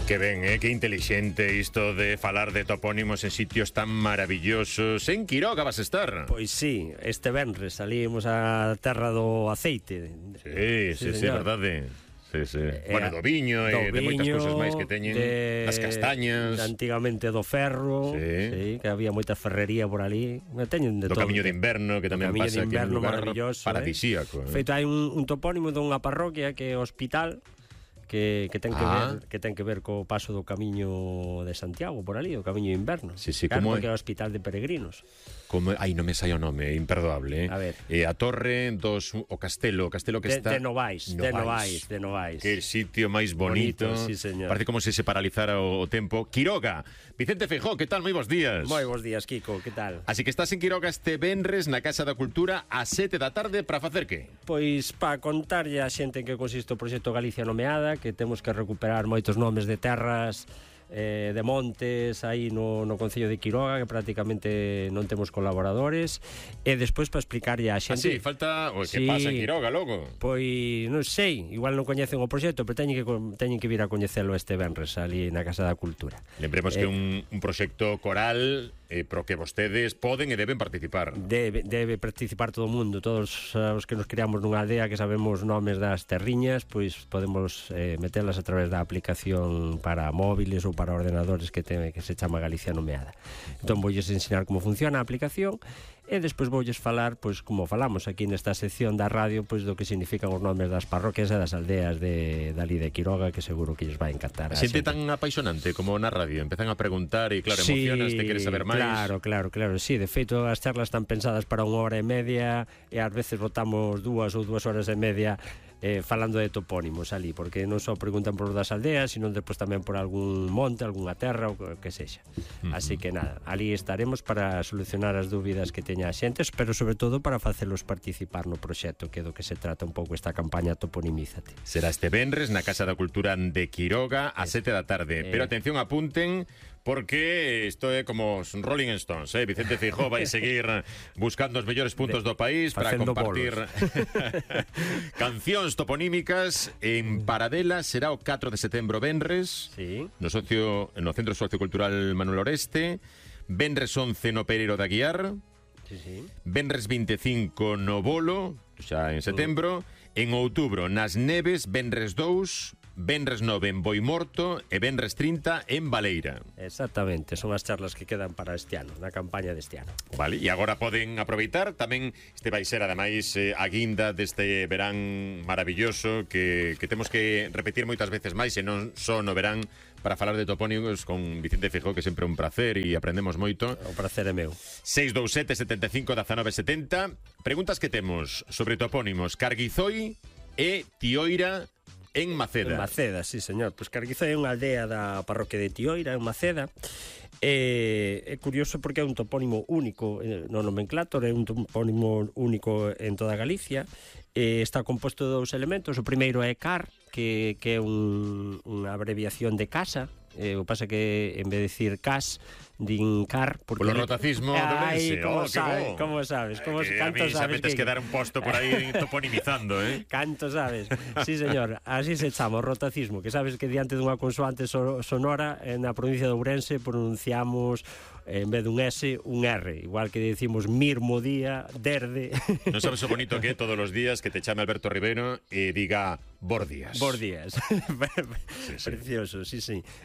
Que ben, que inteligente isto de falar de topónimos en sitios tan maravillosos. En Quiroga vas a estar? Pois sí, este venres salimos a terra do aceite. Sí, verdade. Sí. Bueno, do viño e de moitas cousas máis que teñen, das castañas. Antigamente do ferro, sí, que había moita ferrería por ali. Teñen de do todo. Camiño de Inverno, que tamén pasa aquí en un lugar paradisíaco. Feito, hai un topónimo dunha parroquia que é o Hospital, que ten que ver co paso do Camiño de Santiago por ali, o Camiño de Inverno. Sí, claro, porque é o Hospital de Peregrinos. Non me sai o nome, imperdoable. A ver. A Torre dos... O castelo que está... De Novais. Que sitio máis bonito. Sí, señor. Parece como se paralizara o tempo. Quiroga. Vicente Feijóo, que tal? Moi bons días. Moi bons días, Kiko, que tal? Así que estás en Quiroga este venres na Casa da Cultura a 7 da tarde para facer que? Pois para contarlle a xente en que consiste o proxecto Galicia Nomeada, que temos que recuperar moitos nomes de terras, de montes aí no Concello de Quiroga, que prácticamente non temos colaboradores, e despois para explicarlle a xente. Falta o que pasa en Quiroga logo. Pois non sei, igual non coñecen o proxecto, pero teñen que vir a coñecelo este venres ali na Casa da Cultura. Lembremos que é un proxecto coral pro que vostedes poden e deben participar. Debe participar todo o mundo, todos os que nos criamos nunha aldea que sabemos nomes das terriñas, pois podemos metelas a través da aplicación para móviles ou para ordenadores que se chama Galicia Nomeada. Entón voulles ensinar como funciona a aplicación e despois voulles falar, pois como falamos aquí nesta sección da radio, pois do que significan os nomes das parroquias e das aldeas dali de Quiroga, que seguro que lles vai encantar. Xente tan apaixonante como na radio, empezan a preguntar e claro, emocionas, te queres saber máis. Claro, sí, de feito as charlas están pensadas para 1 hora e media e ás veces botamos 2 ou 2 horas e media falando de topónimos ali, porque non só preguntan por das aldeas, sino despois tamén por algún monte, algunha terra ou que sexa. Así que nada, ali estaremos para solucionar as dúbidas que teña a xente, pero sobre todo para facelos participar no proxecto, que é do que se trata un pouco esta campaña Toponimízate. Será este venres na Casa da Cultura de Quiroga a 7 da tarde. Pero atención, apunten, porque isto é como os Rolling Stones, Vicente Feijóo vai seguir buscando os mellores puntos do país para compartir cancións toponímicas. En Paradela será o 4 de setembro venres, no Centro Sociocultural Manuel Oreste. Venres 11 no Pereiro de Aguiar. Venres 25 no Bolo, xa en setembro. En outubro nas Neves, venres 2, venres 9 en Boimorto e venres 30 en Baleira. Exactamente, son as charlas que quedan para este ano, na campaña deste ano. Vale, e agora poden aproveitar tamén, este vai ser ademais a guinda deste verán maravilloso que temos que repetir moitas veces máis, e non só no verán, para falar de topónimos con Vicente Feijóo, que sempre é un placer e aprendemos moito. O placer é meu. 627 75 19 70. Preguntas que temos sobre topónimos Carguizoi e Tioira en Maceda. En Maceda, sí, señor. Pois Carguizoi é unha aldea da parroquia de Tioira, en Maceda. É curioso porque é un topónimo único no nomenclátor, é un topónimo único en toda Galicia. Está composto de 2 elementos. O primeiro é car, que é unha abreviación de casa. O pasa que en vez de decir cas, din car porque polo rotacismo do lense. Como sabes? A mí xa metes que dar un posto por aí toponimizando, Canto sabes? Sí, señor, así se chama o rotacismo, que sabes que diante dunha consoante sonora na provincia de Ourense pronunciamos en vez dun S, un R, igual que decimos mirmo día, derde. Non sabes o bonito que é todos os días que te chame Alberto Rivero e diga Bordías. Precioso, sí.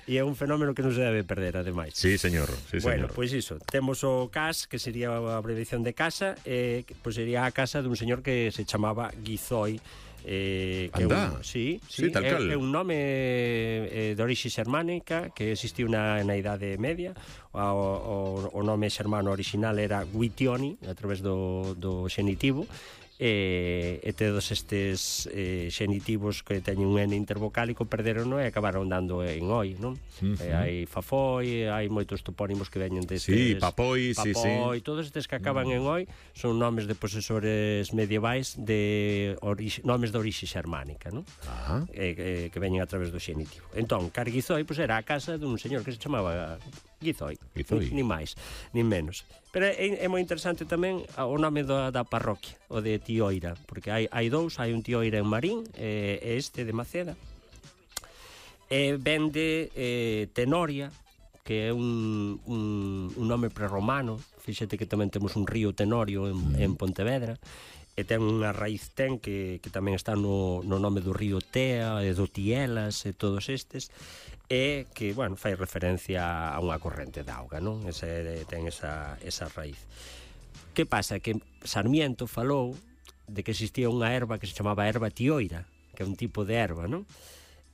E é un fenómeno que non se debe perder, ademais. Sí, señor. Bueno, pois iso, temos o CAS, que sería a abreviación de casa, pois sería a casa dun señor que se chamaba Guizoi. Anda, tal cal. É un nome de orixe xermánica que existiu na Idade Media. O nome xermano original era Guitioni, a través do xenitivo. E todos estes xenitivos que teñen un N intervocálico perderon e acabaron dando en oi, non? Hai Fafoi, hai moitos topónimos que veñen destes. Sí, Papoi, todos estes que acaban en oi son nomes de posesores medievais de nomes de orixe xermánica, non? Que veñen a través do xenitivo. Entón, Carguizoi era a casa dun señor que se chamaba Guizoi. Nin máis, nin menos. Pero é moi interesante tamén o nome da parroquia, o de Tioira, porque hai 2, hai un Tioira en Marín e este de Maceda. Ven de Tenoria, que é un nome prerromano. Fíxate que tamén temos un río Tenorio en Pontevedra, e ten unha raíz que tamén está no nome do río Tea e do Tielas e todos estes, e que, bueno, fai referencia a unha corrente de auga, non? Ten esa raíz. Que pasa? Que Sarmiento falou de que existía unha erva que se chamaba erva tioira, que é un tipo de erva, non?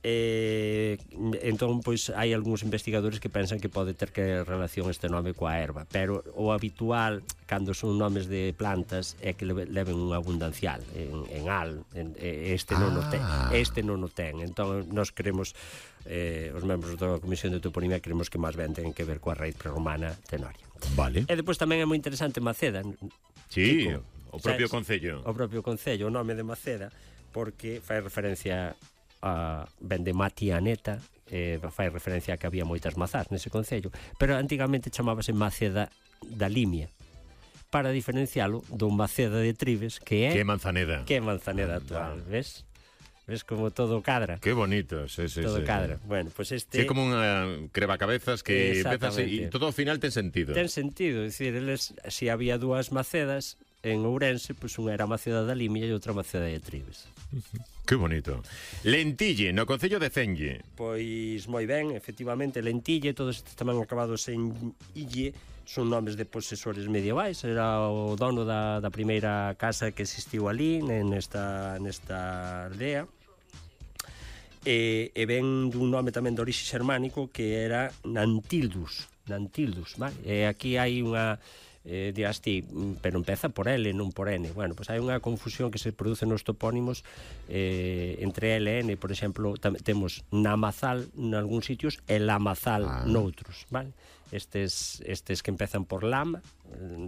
Entón, pois, hai algúns investigadores que pensan que pode ter que relación este nome coa erva, pero o habitual, cando son nomes de plantas, é que leven un abundancial en al, este non o ten. Entón, nós queremos, os membros da Comisión de Toponimia, queremos que máis ben ten que ver coa raíz prerromana Tenoria. Vale. E depois tamén é moi interesante Maceda. Sí, o propio concello. O propio concello, o nome de Maceda, porque fai referencia ben de Matianeta, fai referencia a que había moitas mazás nese concello, pero antigamente chamábase Maceda da Limia, para diferencialo do Maceda de Trives, que é Manzaneda actual, ves? Ves como todo cadra. Qué bonito, sí. Todo cadra. Bueno, pues este... É como unha crevacabezas que empezas e todo ao final ten sentido. Ten sentido, é dicir, eles, se había dúas Macedas en Ourense, pois unha era Maceda da Limia e outra Maceda de Trives. Que bonito. Lentille, no concello de Cenlle. Pois moi ben, efectivamente, Lentille, todos estes tamén acabados en ille, son nomes de posesores medievais. Era o dono da primeira casa que existiu ali, nesta aldea. E ven dun nome tamén de orixe xermánico que era Nantildus, vale? E aquí hai unha dirás ti, pero empeza por L, non por N. Bueno, pois hai unha confusión que se produce nos topónimos entre L e N. Por exemplo, temos Namazal nalgúns sitios e Lamazal noutros, vale? Estes que empezan por lama,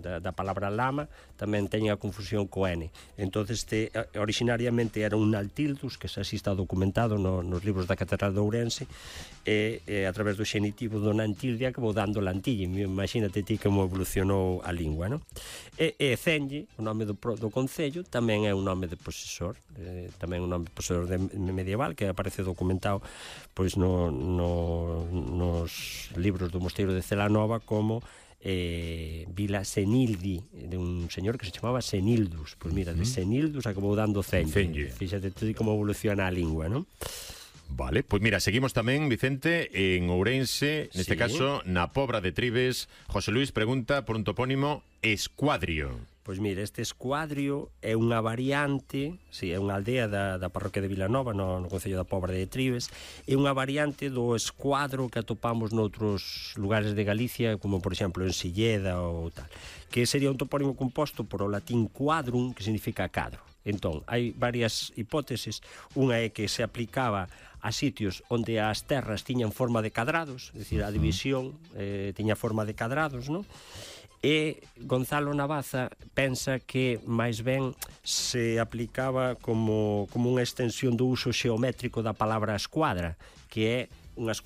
da palabra lama, tamén teñen a confusión co N. Entonces, originariamente era un Naltildus, que xa así está documentado nos libros da Catedral de Ourense, e a través do xenitivo do Nantildia que vou dando Lantille. Imagínate ti como evolucionou a lingua, non? E Cenlle, o nome do concello, tamén é un nome de posesor, tamén un nome de posesor medieval, que aparece documentado pois nos libros do Mosteiro de Celanova como Vila Senildi, de un señor que se chamaba Senildus. Pois mira, de Senildus acabou dando Cenlle. Fíxate tú como evoluciona a lingua, non? Vale, pois mira, seguimos tamén, Vicente, en Ourense, neste caso, na Pobra de Trives. José Luis pregunta por un topónimo Escuadrio. Pois mira, este Escuadrio é unha variante, é unha aldea da parroquia de Vilanova, no concello da Pobra de Trives, é unha variante do escuadro que atopamos noutros lugares de Galicia, como por exemplo en Silleda ou tal, que sería un topónimo composto por o latín quadrum, que significa cadro. Entón, hai varias hipótesis. Unha é que se aplicaba a sitios onde as terras tiñan forma de cadrados, é dicir, a división tiña forma de cadrados, non? E Gonzalo Navaza pensa que máis ben se aplicaba como unha extensión do uso xeométrico da palabra escuadra, que é unha escuadra